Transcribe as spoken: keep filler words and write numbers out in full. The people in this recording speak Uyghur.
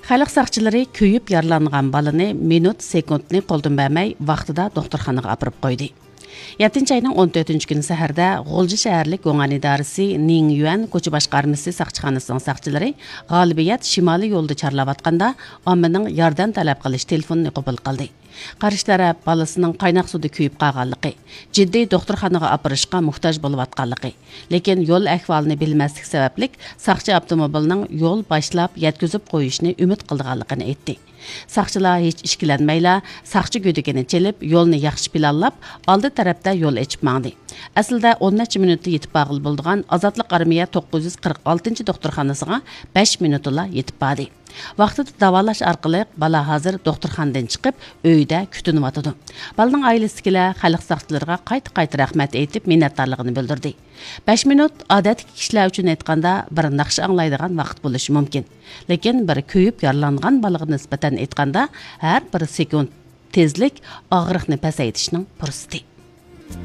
خەلق ساقچىلىرى كۆيۈپ يارىلانغان بالىنى مىنۇت، سېكۇنتنى قولدىن بەرمەي، ۋاقتىدا دوختۇرخانىغا ئاپىرىپ قويدى. يەتتىنچى ئاينىڭ ئون تۆتىنچى كۈنى سەھەردە غۇلجا شەھەرلىك گۇڭئەن ئىدارىسى نىڭ يۈەن كوچا باشقارمىسى ساقچىخانىسىنىڭ ساقچىلىرى غالىبىيەت شىمالىي يولدا چارلاۋاتقاندا، ئاممىنىڭ ياردەم تەلەپ قىلىش تېلېفونىنى قوبۇل قىلدى. قارشى تەرەپ بالىسىنىڭ قايناق سۇدا كۆيۈپ قالغانلىقى، جىددىي دوختۇرخانىغا ئاپىرىشقا موھتاج بولۇۋاتقانلىقى، لېكىن يول ئەھۋالىنى بىلمەسلىك سەۋەبلىك ساقچى ئاپتوموبىلنىڭ يول باشلاپ يەتكۈزۈپ قويۇشىنى ئۈمىد قىلىدىغانلىقىنى ئېيتتى. ساقچىلار ھېچ ئىككىلەنمەيلا ساقچى گۆدىكىنى چېلىپ، يولنى ياخشى پىلانلاپ، ئالدى تەرەپتە يول ئېچىپ ماڭدى. ئەسلىدە ئون نەچچە مىنۇتتا يېتىپ بارغىلى بولىدىغان ئازادلىق ئارمىيە توققۇز يۈز قىرىق ئالتىنچى دوختۇرخانىسىغا بەش مىنۇتتىلا يېتىپ باردى. ۋاقتىدا داۋالاش ئارقىلىق بالا ھازىر دوختۇرخانىدىن چىقىپ، ئۆيىدە كۈتۈنۈۋاتىدۇ. بالىنىڭ ئائىلىسىدىكىلەر خەلق ساقچىلىرىغا قايتا-قايتا رەھمەت ئېيتىپ، مىننەتدارلىقىنى بىلدۈردى. بەش مىنۇت ئادەتتىكى كىشىلەر ئۈچۈن ئېيتقاندا بىر ناخشا ئاڭلايدىغان ۋاقىت بولۇشى مۇمكىن. لېكىن بىر كۆيۈپ يارىلانغان بالىغا نىسبەتەن ئېيتقاندا، ھەر بىر سېكۇنت تېزلىك ئاغرىقنى پەسەيتىشنىڭ پۇرسىتى.